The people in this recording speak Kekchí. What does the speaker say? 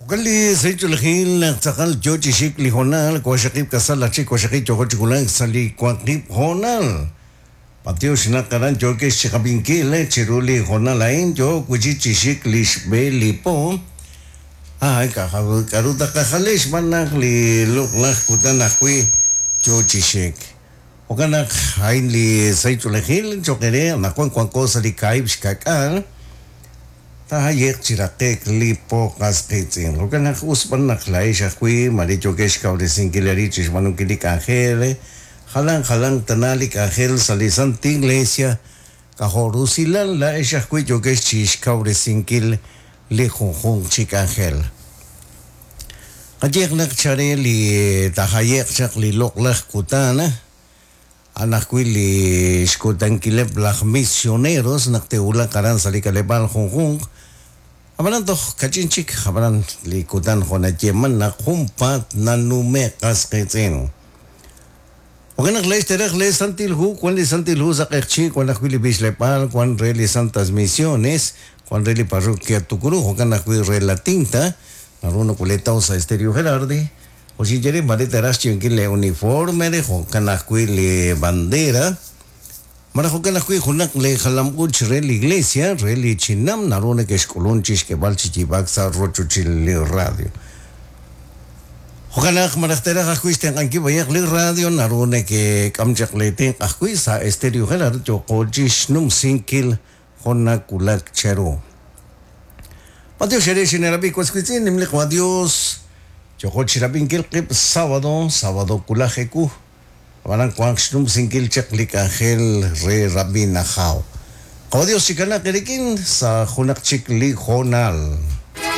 Jo'kan li sahil ch'oolejil naq tz'aqal yoo chi xik li hoonal, waqxaqib' k'asal aj chik waqxaqib' yooko chi wulak sa' li waqib' hoonal. B'antiox naq aran yookex chi qab'inkil chiru li hoonal a'in yook wi' chik chi xik li xb'e li po. Ah, k'aru taqajale xb'aan naq li loq'laj kutan ajwi' yoo chi xik. Jo'kan naq a'in li sahil ch'oolejil cho'q eere anaqwan wanko sa' li kaahib' xka'k'aal. Taayeq chi raqe'k li po qas qiitz'in. Jo'kan naq us b'an naq laa'ex ajwi' maare yookex xkawresinkil eerib' chi xb'aanunkil li k'anjel, jalan jalanq tana li k'anjel sa' li Santa Iglesia, k'ajo' rusilal laa'ex ajwi' yookex chi xkawresinkil li junjunq chi k'anjel. Qayeeq naq chare li taajaye'q chaq li loq'laj kutan, A'an ajwi' li xkutankileb' laj misioneros naq te'wulaq aran sa' li k'aleb'aal junjunq. Ab'anan toj kach'in chik, ab'anan li kutan jo' nayeeman naq junpaat nanume'k qas qiitz'in. Jo'kan naq laa'ex teeraj lee Santil Hu, wan li Santil Hu sa' q'eqchi', wan ajwi' li b'ichleb'aal, wan re li Santas Misiones, wan re li Parroquia Tucurú, jo'kan ajwi' re La Tinta, naru nokoleetaw sa' Estéreo Gerardi, Jo' xinye re, maare teeraj xyiib'ankil lee uniforme re jo'kan ajwi' li bandera, malaj jo'kan ajwi' junaq lee jalam-uuch re li iglesia re li chinam naru nekexk'ulun chixk'eeb'al chi yiib'aak sa' rochochil li radio. Jo'kan naq malaj teeraj ajwi' xtenq'ankil b'ayaq li radio, naru nekek'am chaq lee tenq' ajwi' sa' Estéreo Gerardi yooqo chixnumsinkil jo' nawulak cheru. B'antiox eere xineerab'i was wiitz'in, nimli Qwa' Dios, yooqo chirab'inkil qib' sábado, sábado wulaj ewu, ab'anan wanq xnumsinkil chaq li k'anjel re Rab'in Ajaw. Qwa' Dios chikanaq eerik'in sa' junaq chik li hoonal.